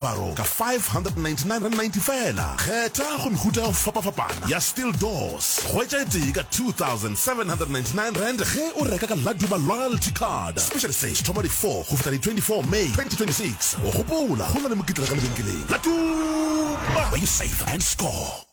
Diaparo ka R599.90 feela. Kgetha go mehuta ya go fapafapana ya steel doors. Hwetša e tee ka R2,799 ge o reka ka Laduba Loyalty Card. Special se se thoma di 4 go fihla di 24 May 2026. Gopola, go na le mokitlana ka lebenkeleng. Laduba, where you save and score.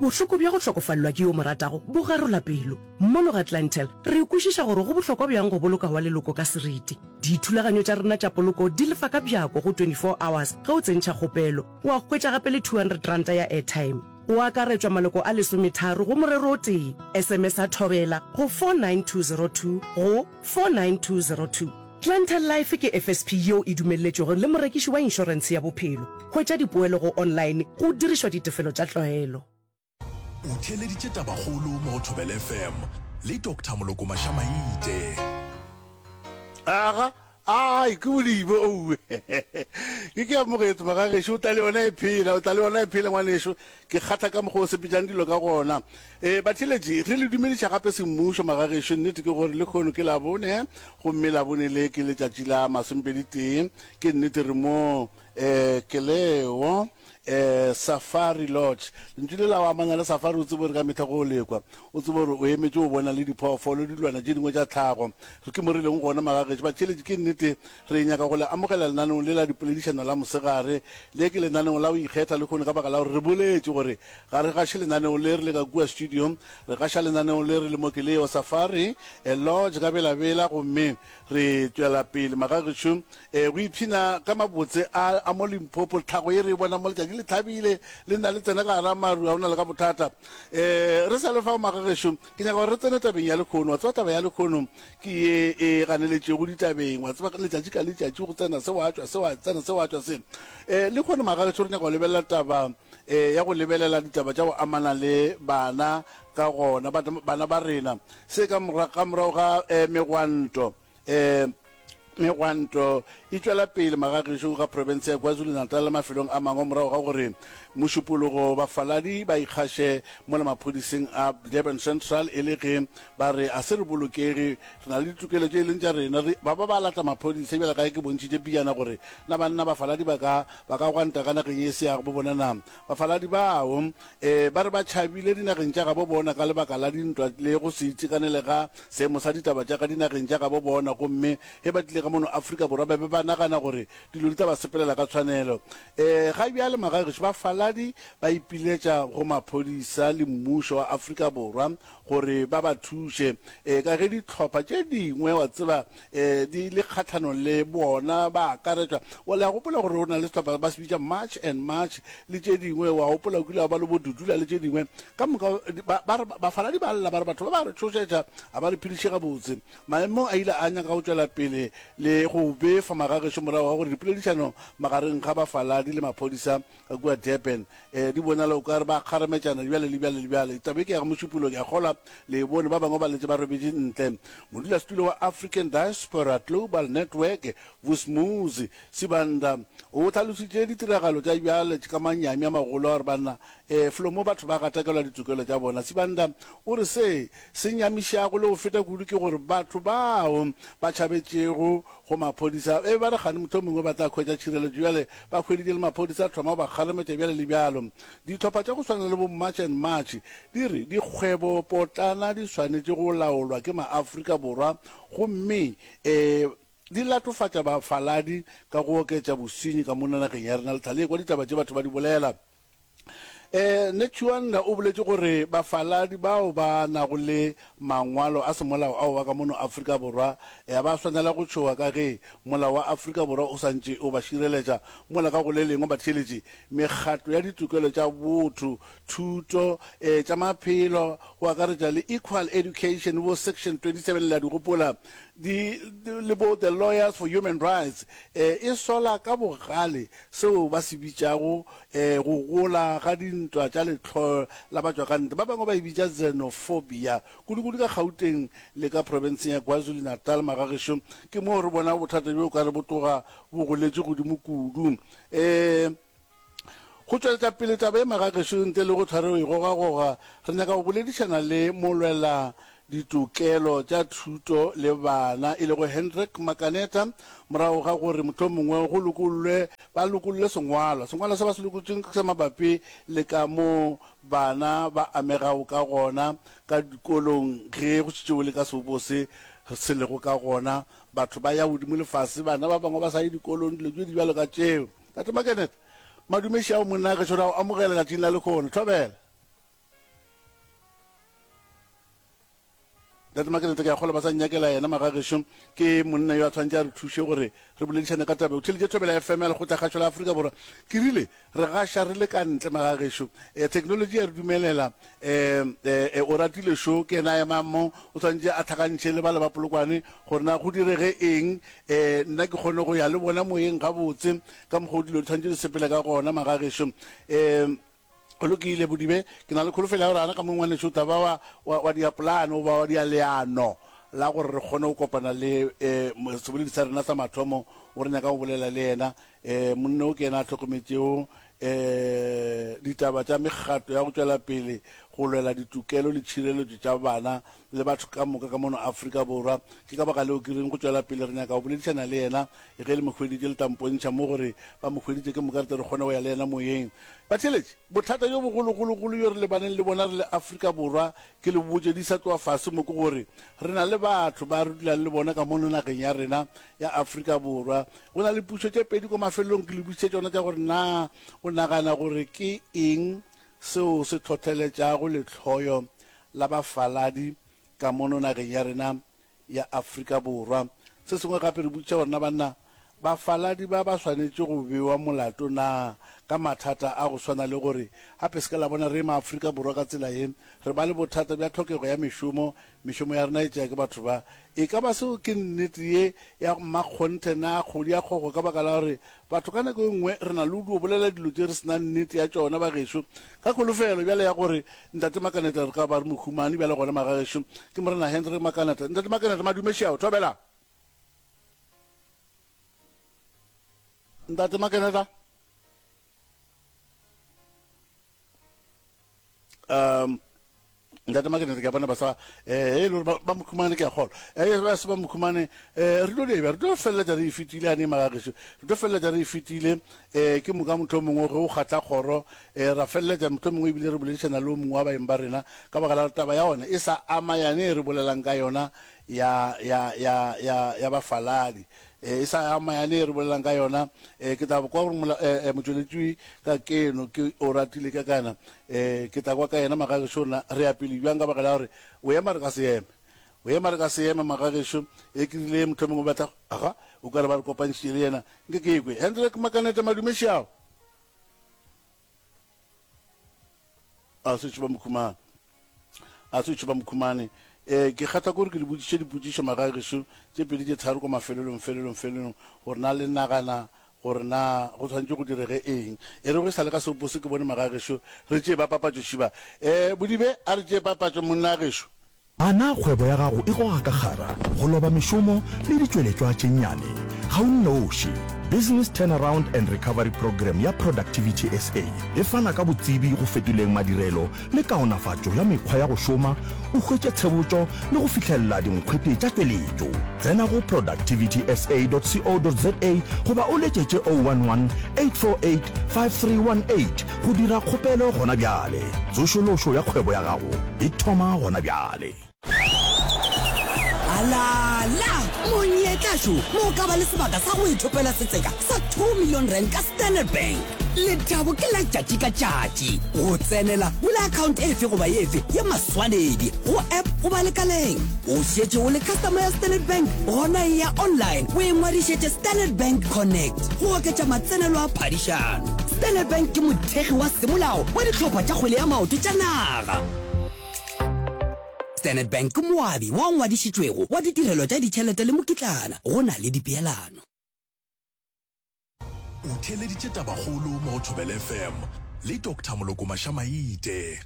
Bohloko bja go hlokofalelwa ke yo o mo ratago bo garola pelo. Mono ga Clientele, re kwešiša gore go bohlokwa bjang go boloka wa leloko ka seriti. Dithulaganyo tša rena tša poloko di lefa ka bjako go 24 hours ge o tsentšha kgopelo. Wa hwetša gape le R200 ya airtime. Go akaretšwa maloko a lesometharo go morero o tee. SMS-a Thobela go 49202 go 49202. Clientele Life ke FSP yeo e dumelletšwego le morekiši wa inšorentshe ya bophelo. Hwetša dipoelo go online go dirišwa ditefelo tša tlwaelo. O theeleditše Tabakgolo mo go Thobela FM le Doctor Moloko Mashamaite. Aga, ai, ke bodibe, owe. Ke ke amogetse magagešo, o tla le yona e phela, o tla le yona e phela ngwanešo. Ke kgatha ka mokgwa o sepetšang dilo ka gona. E, batheeletši, re le dumediša gape semmušo magagešo. Nnete ke gore lehono ke Labone, gomme Labone le ke letšatši la masomepedi-tee. Ke nnete re mo E, ke leo, e, Safari Lodge. Lentšu le la go amana le safari, o tsebe gore ka mehla ge o le kwa, o tsebe gore o emetše go bona le diphoofolo, dilwana tše dingwe tša tlhago. Re ke mo re leng gona, magagetše. Batheeletši, ke nnete re nyaka go le amogela lenaneong le la dipoledišano la mosegare. Le ke lenaneo la go ikgetha lehono ka baka la gore re boletše gore ga re gaše lenaneo le re le ka kua studio, re gaša lenaneo le re le mo ke leo Safari Lodge ka Bela-Bela gomme Re tšwela pele magagešo e, go ipshina ka mabotse a, a mo Limpopo. Tlhago ye re e bona mo letšatši le thabile, le nna le tsena ka gara maru, ga o na le ka bothata. E, re sa le fao magagešo, ke nyaka gore re tsene tabeng ya lekhono. Wa tseba taba ya lekhono ke ye e ganeletšego ditabeng. Wa tseba letšatši ka letšatši go tsena se wa tšwa se wa tsena se wa tšwa se. E, lekhono magagešo re nyaka go lebelela taba e, ya go lebelela ditaba tša go amana le bana ka gona, bana ba rena. Se ka ka morago ga eh, megwanto eh, megwanto e tšwela pele magagešo ga profense ya KwaZulu-Natal le mafelong a mangwe morago ga gore mošupologo bafaladi ba ikgaše mola maphodiseng a Durban Central e le ge ba re a se re bolokege, re na le ditokelo tše e leng tša rena. Re ba ba ba lata maphodisa bjale ka ge ke bontšhitše pejana gore na banna bafaladi ba ka ba ka gwanta ka nageng ye se ya bo bona na. Bafaladi bao Ee, ba re ba tšhabile dinageng tša gabo bona ka lebaka la dintwa le go se itekanele ga seemo sa ditaba tša ka dinageng tša gabo bona, gomme ge ba tlile ka mono Afrika Borwa ba be ba nagana gore dilo di tla ba sepelela ka tshwanelo. Ee, ga bjale magagešo bafaladi ba ipiletša go maphodisa le mmušo wa Afrika Borwa gore ba ba thuše, ee, ka ge dihlopha tše dingwe, wa tseba, ee, di le kgahlanong le bona, ba akaretšwa. Wa, le a gopola gore go na le sehlopha ba se bitša March and March le tše dingwe, wa gopola o kile wa ba le bo Dudula le tše dingwe. Ka moka, ba, ba re, bafaladi ba lla, ba re batho ba ba re tšhošetša, ga ba re phediše gabotse. Maemo a ile a nyaka go tšwela pele le go befa magagešo morago ga gore dipoledišano magareng ga bafaladi le maphodisa ka kua Durban. E, di bonala o ka re ba kgarametšana bjale le bjale le bjale. Taba e ke ya ga Mošupologo, ke a kgolwa le e bone. Ba bangwe ba letše ba robetše ntle. Modulasetulo wa African Diaspora Global Network, Vusmuzi Sibanda, o hlalositše ditiragalo tša bjale ka manyami a magolo a gore banna, e, felo mo batho ba gatakelwa ditokelo tša bona. Sibanda o re se se nyamišago le go feta kudu ke gore batho bao ba tšhabetšego go maphodisa e be ba re kgane mohlomongwe ba tla hwetša tšhireletšo bjale Ba hweditše le maphodisa a thoma go ba kgarametša bjale le bjalo. Dihlopha tša go swana le bo March and March di re dikgwebopotlana di swanetše go laolwa ke maAfrika Borwa gomme e di latofatša bafaladi ka go oketša bosenyi ka mona nageng ya rena. Lethale ekwa ditaba tše batho ba di bolela. E, Netshiunda o boletše gore bafaladi bao ba nago le mangwalo a semolao ao ba ka mono Afrika Borwa ga ba swanela go tšhoga ka ge molao wa Afrika Borwa o sa ntše o ba šireletša mola ka go le lengwe batheeletši mekgatlo ya ditokelo tša botho, thuto, e, tša maphelo go akaretša le Equal Education bo Section 27 le a di gopola di, le bo The Lawyers for Human Rights e, e sola ka bogale seo ba se bitšago e, go gola ga dintwa tša lehloyo la batšwakantle, ba bangwe ba e bitša xenophobia, kudu-kudu ka Gauteng le ka profenseng ya KwaZulu-Natal. Magagešo, ke moo re bonago bothata bjo o ka re bo tloga bo goletše godimo kudu. E, go tšweletša pele taba ye, magagešo, ntle le go hlwa re e gogagoga, re nyaka go boledišana le molwela. Ditokelo tša Thuto le Bana e lego Hendrik Makaneta morago ga gore mohlomongwe go lokollwe ba lokolle sengwalwa. Sengwalwa se ba se lokotšeng ke sa mabapi le ka mo bana ba amegago ka gona ka dikolong ge go šetše o le ka sebopo se se lego ka gona, batho ba ya godimo le fase, bana ba bangwe ba sa ye dikolong, dilo tše di bjalo ka tšeo. Tate Makaneta, madumeši ao monna gešo re a o amogela letšatšing la lehono. Thobela. Ntate Makelete, ke a kgolwa ba sa nnyakela yena magagešo. Ke monna yo a tshwanetše a re thuše gore re boledišane ka taba. O theleditše Thobela FM ya Lekgotlakgašo la Afrika Borwa. Ke rile re gaša re le ka ntle magagešo. Eh, technology ya re dumelela. Eh, eh, eh, Oratile šo ke yena a emang mo, o tshwanetše a tlhakantšhe le bale ba Polokwane gore na go direge eng. Eh, nna ke kgone go ya le bona moyeng gabotse ka mokgwa o dilo di tshwanetše di sepele ka gona magagešo. Eh, Go lokile, Bodibe. Ke na le kholofelo ya gore gana ka mo ngwanešu o tla ba wa, wa, wa dia polane goba wa dia leano la gore re kgone go kopana le um seboledi sa rena sa mathomo o re nyaka go bolela le yena. Um monna o ke yena a hlokometšego um ditaba tša mekgatlo ya go tšwela pele go lwela ditokelo le tšhireletšo tša bana le batho ka moka ka mono Afrika Borwa. Ke ka baka leo ke reng go tšwela pele re nyaka go boledišana le yena ge le mo hweditše le tla mpontšha mo gore ba mo hweditše ke moka re tle re kgone go ya le yena moyeng. Batheeletši, bothata bjo bogologologolo bjo re lebaneng le bona re le Afrika Borwa ke le botše di sa tloga fase mo ke gore re na le batho ba re dulang le bona ka mono nageng ya rena ya Afrika Borwa. Go na le pušo tše pedi ko mafelelong ke le botšiše tšona tša gore na o nagana gore ke eng seo se hlohleletšago lehloyo la bafaladi ka mono nageng ya rena ya Afrika Borwa. Se sengwe gape re botšiša gore na banna bafaladi ba ba swanetše go bewa molato na ka mathata a go swana le gore gape se ka la bona re maAfrika Borwa ka tsela ye re ba le bothata bja tlhokego ya mešomo, mešomo ya rena e tšea ke batho ba. E ka ba seo ke nnete ye ya mmakgonthe na kgodi ya kgogo ka baka la gore batho ka nako e nngwe re na le go dio bolela dilo tše re se na nnete ya tšona bagešo ka kholofelo bjale ya gore Ntate Makaneta re ka ba re mo humane bjale gona magagešo ke Morena Hendrik Makaneta. Ntate Makaneta madume šeao thobela. Ntate Makaneta. Um Ntate Makaneta ke a bona ba sa eh e le gore ba mo humane ke a kgolwa. Eh ba se ba mo humane eh re tlo dira re tlo feleletša re e fetile ane magagešo. Re tlo feleletša re e fetile Ee, ke moka mohlomongwe ge o kgatla kgoro, ee, ra feleletša mohlomongwe ebile re boledišana le o mongwe wa baeng ba rena, ka baka la gore taba ya ona e sa ama yane e re bolelang ka yona ya, ya, ya, ya, ya bafaladi. Ee, e sa ama yane e re bolelang ka yona. Ee, ke tla kwa gore mola, ee, motšweletši ka keno ke o ratile ka kana. Ee, ke tla kwa ka yena magagešo na re ya pele bjang ka baka la gore o ema re ka se eme. O ema re ka se eme magagešo. E ke rile mohlomongwe ba tla, aga, o ka re ba re kopantšhitše le yena. Nke ke kwe. Hendrik Makaneta Madumešiao. A se tšhuba mokhumane. A se tšhuba mokhumane. Eh, ke kgatha kore ke le botšiše dipotšišo magagešo tše pedi tše tharo ko mafelelong felelong felelong gore na le nagana gore na go tshwanetše go direge eng. E re go sa le ka seopo se ke bone magagešo re tšee ba papatšo šiba. Eh, Bodibe a re tšee papatšo monna gešo. A na kgwebo ya gago e goga ka kgara, go loba mešomo le ditšweletšwa tše nnyane? Ga o nnoši. Business Turnaround and Recovery Programme ya Productivity SA e fana ka botsebi go fetoleng madirelo le kaonafatšo ya mekgwa ya go šoma, o hwetše tshebotšo le go fihlelela dinkgwete tša tšweletšo. Tsena go productivitysa.co.za goba o letšetše 011 848 5318 go dira kgopelo gona bjale. Tsošološo ya kgwebo ya gago e thoma gona bjale. Alala! Monyetla šo mo o ka ba le sebaka sa go ithopela setseka sa 2 million rand ka Standard Bank. Lethabo ke la tšatši ka tšatši. Go tsenela, bula account efe goba efe ya maswanedi go app goba lekaleng. O šetše o le customer ya Standard Bank? Gona eya online o ingwadišetše Standard Bank Connect go oketša matsenelo a phadišano. Standard Bank ke mothekgi wa semolao wa dihlopha tša kgwele ya maoto tša naga. Standard Bank ke moabi wa ngwadišitšwego wa ditirelo tša ditšhelete le mokitlana go na le dipeelano. O theeleditše Tabakgolo mo go Thobela FM le Doctor Moloko Mashamaite.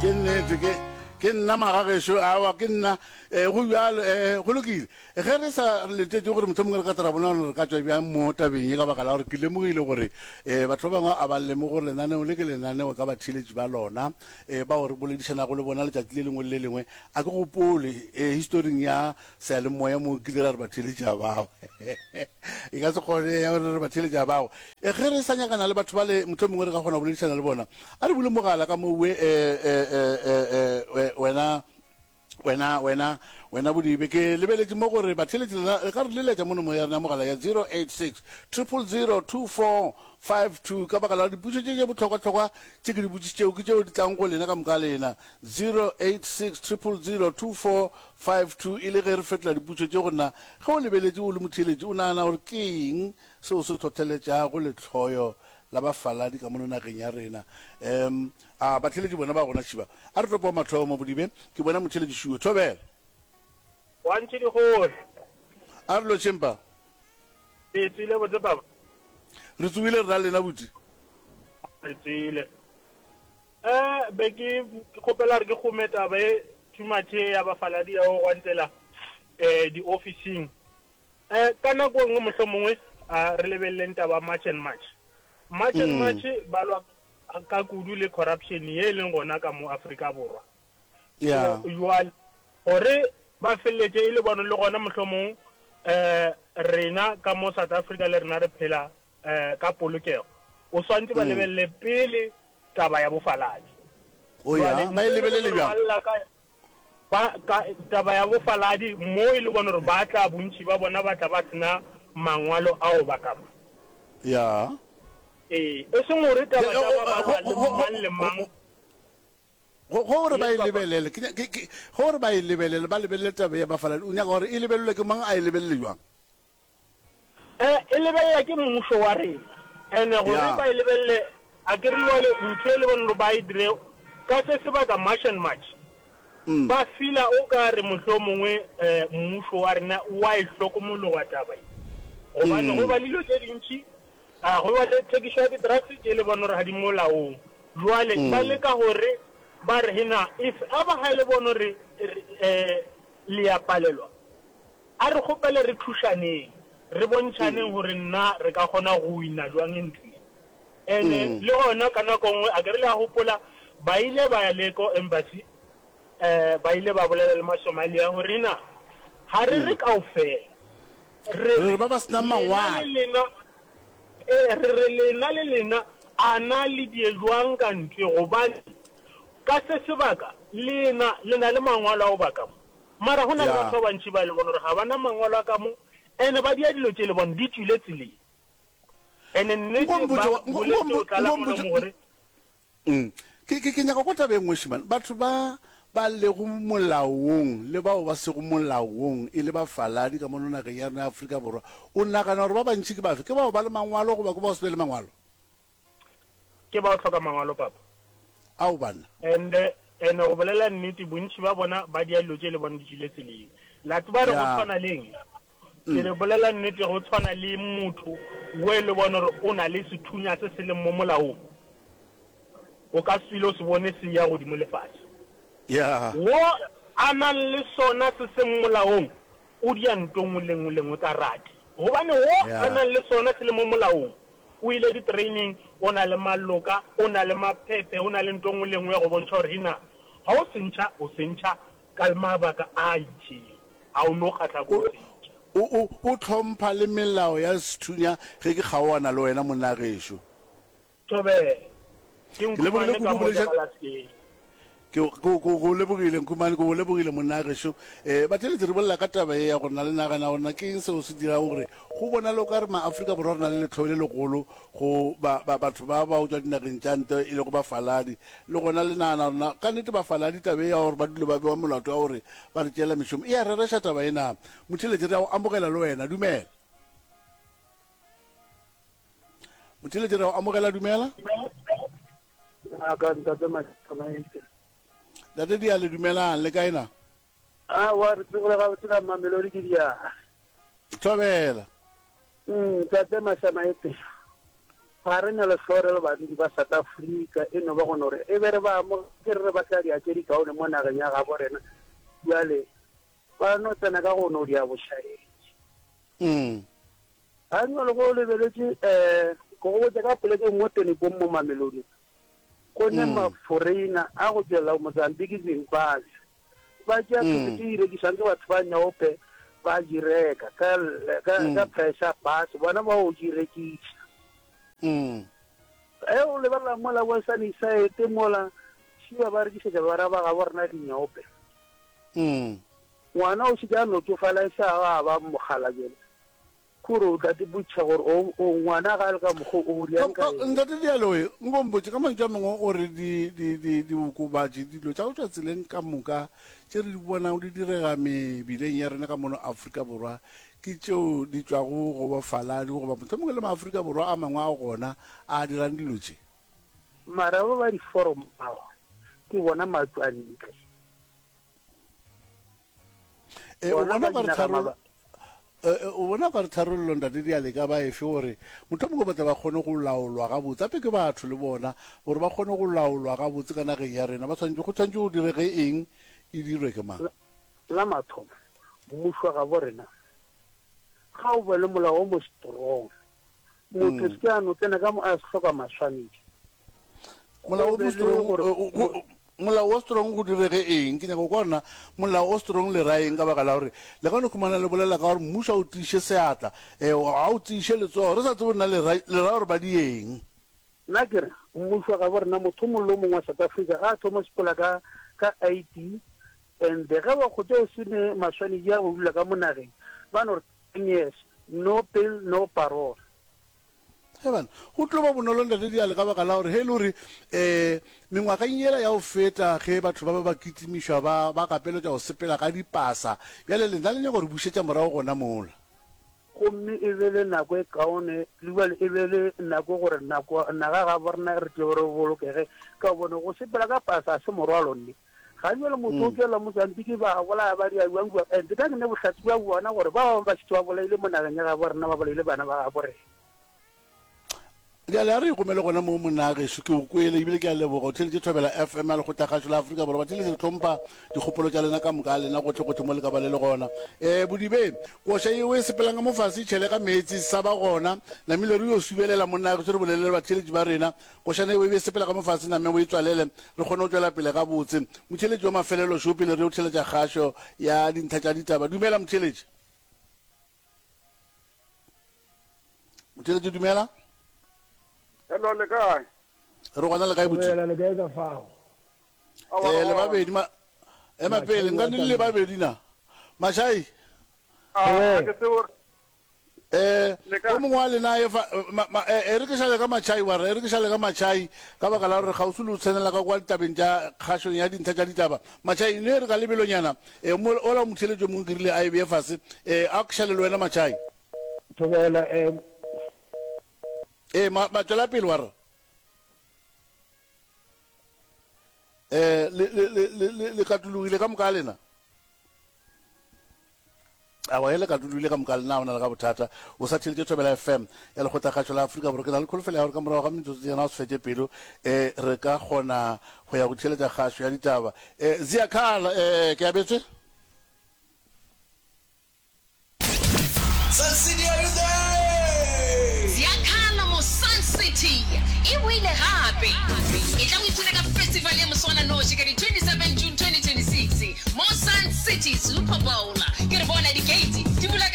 Ke nnete ke. Ke nna magagešo, aowa, ke nna. E, go bjalo, e, go lokile. Ge re sa letetše gore mohlomongwe re ka tla ra bona gore re ka tšwa bjang mo tabeng ye, ka baka la gore ke lemogile gore e, batho ba bangwe a ba lemoge gore lenaneo le ke lenaneo ka batheeletši ba lona, e, bao re boledišanago le bona letšatši le lengwe le le lengwe. A ke gopole, e, historing ya seyalemoya mo kile ra re batheeletši a bao. E ka se kgone ya gore re batheeletši a bao. E, ge re sa nyakana le batho bale, mohlomongwe re ka kgona go boledišana le bona. A re bule mogala ka mowe, e, e, e, e, e, wena, wena, wena, wena Bodibe. Ke lebeletše mo gore batheeletši lena le ka re leletša mo nomoro ya rena ya mogala ya 086 000 2452 ka baka la gore dipotšišo tše tše bohlokwahlokwa tše ke di botšišitšego ke tšeo di tlang go lena ka moka lena. 086 000 2452 e le ge re fetola dipotšišo tše go nna. Ge o lebeletše o le motheeletši o nagana gore ke eng seo se hlohleletšago lehloyo la bafaladi ka mono nageng ya rena. Um a batheeletši bona ba gona šiba. A re topo wa mathomo Bodibe, ke bona motheeletši šuwe. Thobela. Wa ntše dikgole. A re lotšheng pa. Re tswile botse papa. Re tswile re na lena buti. Re tswile. Eh be ke kgopela re ke gome taba e too much ya bafaladi ya go gwantela eh di officing. Eh, ka nako e nngwe mohlomongwe a re lebeleleng taba March and March. March and March ba lwa ka kudu le corruption ye e leng gona ka mo Afrika Borwa. Yeah. So jwale gore ba feleletše e le bona le gona mohlomong eh rena ka mo South Africa le rena re phela eh ka polokego. O swantse ba lebelele pele taba ya bofaladi. Oh yeah, Jwale ba e ntho e le lebelele gore ba bjang? lla ka Ba, ka, taba ya bofaladi, mo e le bona gore ba tla, bontši ba bona ba tla ba se na mangwalo ao ba ka mo. Ya. Ee, e seng gore taba tša ba ba lwa le mang le mang. Go, go gore ba Yes, e papa. lebelele, ke, ke, ke, gore ba e lebelele, ba lebelele taba ya bafaladi, o nyaka gore e lebelelwe ke mang, a e lebelele bjang? E, e lebelela ke mmušo wa rena. Ene gore Ya. ba e lebelele, a ke re jwale ntho e le bone gore ba e dire ka se sebaka March and March, ba feela o ka re mohlomongwe um mmušo wa rena wa e hlokomologa taba ye. Gobane go ba le dilo tše dintši, a go ba le thekišo ya di-drugs tše le bone gore ga di molaong. Jwale ba leka gore ba re hena if ever ga e le bone gore um le ya palelwa, A re kgopele re thušaneng, re bontšhaneng gore nna re ka kgona go wina jwang ntlo ye. Ene le gona ka nako nngwe, a ke re le a gopola, ba ile ba ya le ko embassy, um ba ile ba bolela le Masomalia gore na ga re re kaofela, re Re re ba ba se nang lena le mangwalo. lena, ee, re re lena le lena, a na le die jwang ka ntlo ye, gobane ka se sebaka lena le na le mangwalo a go baka mo. Mara go na le Ya. batho ba bantši ba e le bona gore ga ba na mangwalo a ka mo, ene ba dia dilo tše le bona di tšwile tseleng. Ene nnete Nko mpotše ba wa- nko- boletše nko go tlala nko molomo mpotše- gore Mm. Ke, ke, ke nyaka go kwa taba e nngwe šimane. Batho ba ba lego molaong le bao ba sego molaong e le bafaladi ka mono nageng ya rena ya Afrika Borwa, o nagana gore ba bantši ke bafe? Ke bao ba le mangwalo goba ke bao se be le mangwalo? Ke ba go hloka mangwalo papa. Ao banna. And and go bolela nnete bontši ba bona ba dia dilo tše le bona di tšwile tseleng. La tseba re go Ya. tshwana le eng? Ke re bolela nnete go tshwana le motho we le bona gore o na le sethunya se se leng mo molaong. O ka se ile o se bone se ya godimo le fase. Ya. Wo a nang le sona se seng molaong o dia nto nngwe le nngwe le nngwe ka rate. Gobane wo a Ya. nang le sona se le mo molaong O ile di-training, o na le maloka, o na le maphephe, o na le nto nngwe le nngwe ya go bontšha gore hina ga o se ntšha, o se ntšha ka mabaka a itšeng, ga o no kgahla ke go se ntšha. O, o, o hlompha le melao ya sethunya ge ke kgaoana le wena monna gešo. Thobela. Ke Ke lebogile Nkhumane ka kudu mo bolediša. Jagalaskeng. Ke, ke, ke go lebogile Nkhumane, ke go lebogile monna gešo. Eh, batheeletši re bolela ka taba ye ya gore na le nagana gore na ke eng seo se dirago gore go bonale o ka re ma-Afrika Borwa re na le lehloyo le legolo go ba, ba, batho ba ba go tšwa dinageng tša ntle e lego bafaladi. Le gona le nagana gore na ka nnete bafaladi taba ye ya gore ba dule ba bewa molato wa gore ba re tšeela mešomo e a rereša taba ye na? Motheeletši re a go amogela le wena, dumela. Motheeletši re a go amogela, dumela. Aka ntate Matsamaise. Ntate Dia le dumelang le kae na? Aowa re tsogile gabotse ka Mamelodi ke Dia. Thobela. Ntate Matsamaise. Ga re na lehloyo re le badudi ba South Africa, e no ba go no re e be re ba amogetše re re ba tla dia tše dikaone mo nageng ya gabo rena, bjale ba no tsena ka go no dia bošaedi. Ga bjale ge o lebeletše um ke go botša ka poleke mo Tonibong mo Mamelodi go ne maforeina a go tšwelela Mozambique, Zimbabwe ba tšea thoto tše di rekišwang ke batho ba nyaope ba di reka ka ka ka price ya fase bona ba o di rekiša. Ge o lebelela mola bo Sunnyside mola šiba ba rekišetša bara ba gabo rena dinyaope. Ngwana o šetše a no tšofala e sa a ba mokgalabje. Kore o tla di botšiša gore o, o ngwana ga a le ka mokgo o riang ka eng. Ntate Dialoe, nko mpotše, ka mantšu a mangwe o re di, di, di, diokobatši, dilo tša go tšwa tseleng ka moka tše re di bonago di direga mebileng ya rena ka mono Afrika Borwa ke tšeo di tšwago go bofaladi goba mohlomongwe le Maafrika Borwa a mangwe a gona a a dirang dilo tše? Mara ba ba di-forum bao ke bona matšwantle. E, o bona ka re tharollo o bona ka re tharollo ntate diale ka ba efe gore motho mongwe ba tle ba kgone go laolwa gabotse ape ke batho le bona gore ba kgone go laolwa gabotse ka nageng ya rena ba tshwanetse go tshwanetse go direge eng e dirwe ke mang la mathomo mmušo wa gabo rena ga o be le molao o mo strong Motho se ke a no tsena ka mo a se hloka maswanedi. Molao o mo strong, molao o strong go direge eng? Ke nyaka go kwa gore na molao o strong le ra eng ka baka la gore le ka no khumana le bolela ka gore mmušo a o tiiše seatla, eh, a o tiiše letsogo, re sa tsebe na le ra, le ra gore ba di eng. Nna ke re, mmušo wa gabo rena, motho o mongwe le o mongwe wa South Africa ga a thoma go sepela ka, ka ID and ge ba kgotsa o se ne maswanedi a go dula ka mo nageng, ba no re Ten years, no bail, no parole. He bana, go tlo ba bonolo Ntate Diale ka baka la gore ge e le gore um mengwageng yela ya go feta ge batho ba ba ba kitimišwa ba ba gapeletšwa go sepela ka dipasa, bjale lena le nyaka go re bušetša morago gona mola. Gomme e be le nako e kaone, le bjale e be le nako gore nako naga ga borena re tle re bolokege, ka gobane go sepela ka pasa ga se morwalo nne. Ga bjale motho o tšwela Mozambique ba bolaya ba dira bjang kua and ka ke ne bohlatse bja bona gore ba bangwe ba šetše ba bolaile mo nageng ya gabo rena ba bolaile bana ba gabo rena. Bjale a re ikomele gona moo monna gešo, ke o kwele ebile ke a leboga. O theeletše Thobela FM ya Lekgotlakgašo la Afrika Borwa. Batheeletši re hlompha dikgopolo tša lena ka moka a lena gohle-gohle mo le ka ba le le gona. Um Bodibe, koša yeo e sepelang ka mo fase e tšhele ka meetse sa ba gona. Namile re yo subelela monna gešo re bolele le batheeletši ba rena. Košana yeo e be e sepela ka mo fase name o e tswalele, re kgone go tšwela pele gabotse. Motheeletši wa mafelelo šo pele re yo theeletša kgašo ya dintlha tša ditaba. Dumela motheeletši. Motheeletši dumela. Hello, le kae? Re gona le kae botse? Dumela, le kae ka fao? Eh, le babedi ma ema pele nka ne le babedi na. Mashai. Ah, ke tsebo Eh, o mongwe wa lena e fa e re ke šale ka matšhai wa re e re ke šale ka matšhai ka baka la gore kgauswi le o tsenela ka kwa ditabeng tša kgašong ya dintlha tša ditaba matšhai ne re ka lebelonyana e ola o motheletšo mongwe ke rile a e beye fase e a ke šale le wena matšhai Thobela eh ee ma ma tšwela pele wa re eh le le le le le katologile ka moka lena Awa, ge le ka dulile ka moka lena, o na le ga bothata. O sa theletše Thobela FM ya Lekgotlakgašo la Afrika Borwa. Ke na le kholofelo ya gore ka morago ga metsotsonyana o se fetše pelo, um re ka kgona go ya go theeletša kgašo ya ditaba. Um Ziyakhala, um ke abetswe. Sun City are you there? Ziyakhala mo Sun City e boile gape. Etla o ipshine ka festival ya moswananoši ka di 27 June 2026. Mo Sun City Super Bowl ke re bona di-gate di bula ka.